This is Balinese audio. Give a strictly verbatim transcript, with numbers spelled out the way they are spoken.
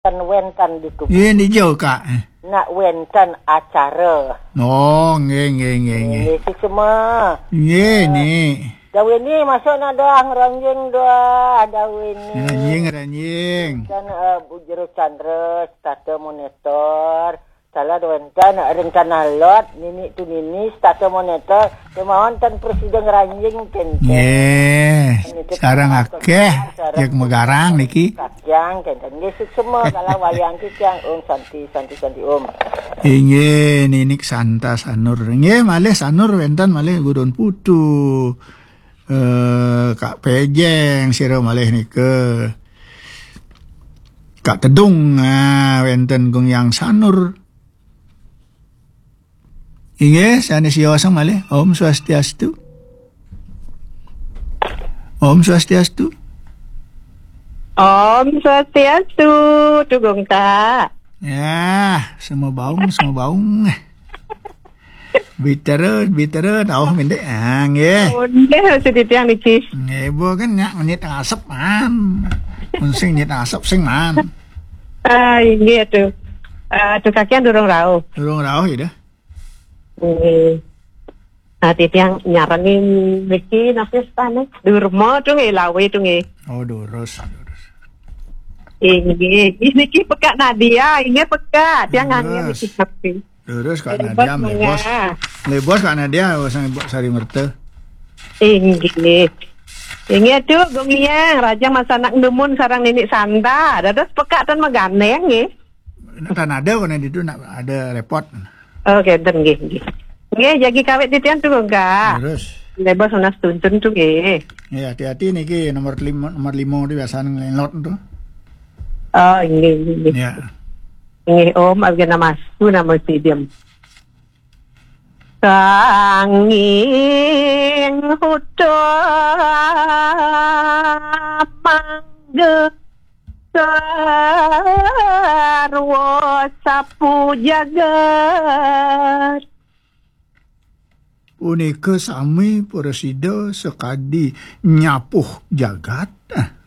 Ten wénten di kubu. Nggih, nijo, Kak. Eh. Nak wénten acara. Oh, nggih, nggih, nggih, nggih. Nggih, suksma. Nggih, Nik. Dawini masuk nadah ngranjing dah, Dawini. Ngranjing, ngranjing. Dan, eh, Bu Jero Chandra, setata monitor. Salah wénten rencana lot, nini tu nini, setata monitor. Kemauan tan presiden ngranjing, kenten. Nggih, sareng akeh, sareng jeg megarang niki. Kakyang, kenten. Nggih, suksma, kalau wayang ki kyang, Om Santi, Santi, Santi, Om. Inggih, ninik Santa Sanur. Nggih, malih Sanur wénten malih Gudon Putu. Eh, Kak Pejeng, sira malih nika. Kak Tedung, ah, wénten Gung Yang Sanur. Inggih, sanes yosang malih. Om Swastiastu. Om Swastiastu. Om Swastiastu, Tugung Kak. Ya, semua baung, semua baung. Biteren, biteren, oh, mendek. Ah, nggih. Oh, nggih, seditiang niki. Nggih, Bu, kan nyak menit ngasep, man. Mun sing nyit ngasep, sing, man. Ah, inggih, aduh. Ah, aduh, kakian durung rauh. Durung rauh, ya, dah. Nggih. Nah, titiang nyarengin niki, napa stane? Durma, tuh, nggih, lawe, tuh, nggih. Oh, durus, durus. Inggih, niki pekak Nadia, inggih pekak. Tiang ngangen niki, tapi. Lurus, Kak Nadia, mlebos. Mlebos, Kak Nadia, sing Ibu Sari Merta. Inggih. Inggih, aduh, Gung Yang, Raja Masanak Dumun sareng Ninik Santa. Dados pekak ten meganeng, nggih. Nek tan ada, kono ditu nak ada repot. Oh, kenten, nggih, nggih. Nggih, jagi kawit titian tuh, Kak. Lurus. Mlebos nunas tuntun tuh, nggih. Ya, hati-hati niki nomor lima, nomor lima itu biasanya ngelot tuh. Oh, inggih, inggih. Ya. Inggih, Om, abdi namastu, namo sidam. Sanging huda mangga sarwa sapu jagat. Punika sami prasida sakadi nyapuh jagat. Ah.